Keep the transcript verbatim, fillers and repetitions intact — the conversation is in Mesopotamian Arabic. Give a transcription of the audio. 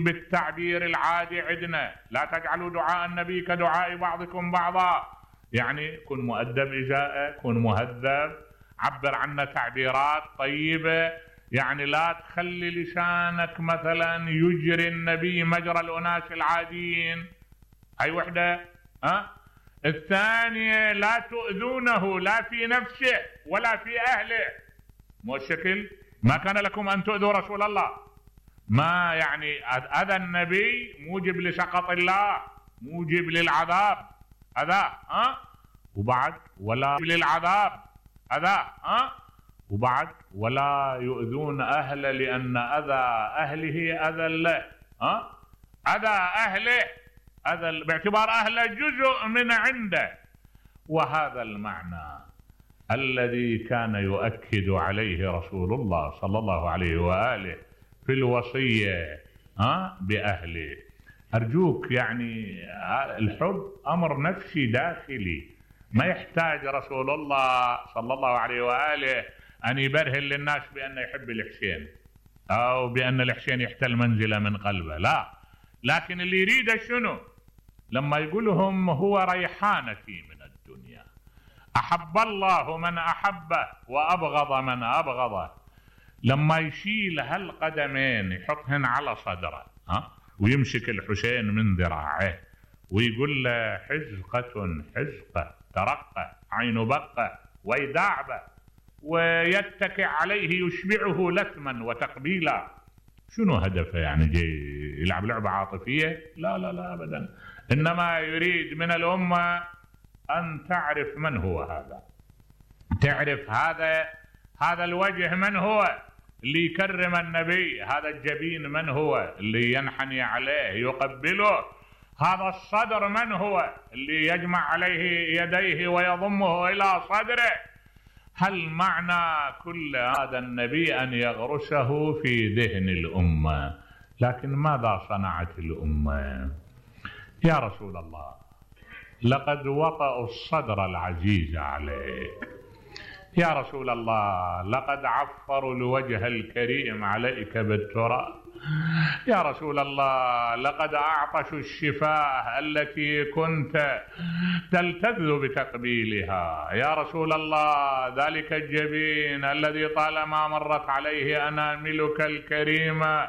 بالتعبير العادي عندنا لا تجعلوا دعاء النبي كدعاء بعضكم بعضا، يعني كن مؤدب إجاءه، كن مهذب، عبر عنا تعبيرات طيبة، يعني لا تخلي لسانك مثلا يجري النبي مجرى الأناس العاديين. هاي وحدة. ها الثانية لا تؤذونه لا في نفسه ولا في أهله. مو الشكل ما كان لكم أن تؤذوا رسول الله، ما يعني أذى النبي موجب لسخط الله، موجب للعذاب أذى. ها وبعد ولا للعذاب أذى. ها وبعد ولا يؤذون أهله لأن أذى أهله أذى له. ها أذى أهله أذى باعتبار أهله جزء من عنده. وهذا المعنى الذي كان يؤكد عليه رسول الله صلى الله عليه وآله في الوصية ها بأهله. أرجوك يعني الحب أمر نفسي داخلي، ما يحتاج رسول الله صلى الله عليه وآله أن يبرهن للناس بأنه يحب الحسين أو بأن الحسين يحتل منزله من قلبه، لا. لكن اللي يريده شنو؟ لما يقولهم هو ريحانتي من الدنيا، أحب الله من أحبه وأبغض من أبغضه. لما يشيل هالقدمين يحطهن على صدره ها ويمسك الحسين من ذراعه ويقول له حزقة حزقة ترقة عين بقة ويداعبه ويتكئ عليه يشبعه لثما وتقبيلا. شنو هدفه؟ يعني جاي يلعب لعبة عاطفية؟ لا لا لا أبدا، إنما يريد من الأمة أن تعرف من هو هذا، تعرف هذا هذا الوجه من هو اللي يكرم النبي، هذا الجبين من هو اللي ينحني عليه يقبله، هذا الصدر من هو اللي يجمع عليه يديه ويضمه إلى صدره. هل معنى كل هذا النبي أن يغرسه في ذهن الأمة؟ لكن ماذا صنعت الأمة؟ يا رسول الله لقد وطأوا الصدر العزيز عليك، يا رسول الله لقد عفروا الوجه الكريم عليك بالتراب، يا رسول الله لقد أعطشوا الشفاه التي كنت تلتذ بتقبيلها، يا رسول الله ذلك الجبين الذي طالما مرت عليه أناملك الكريمة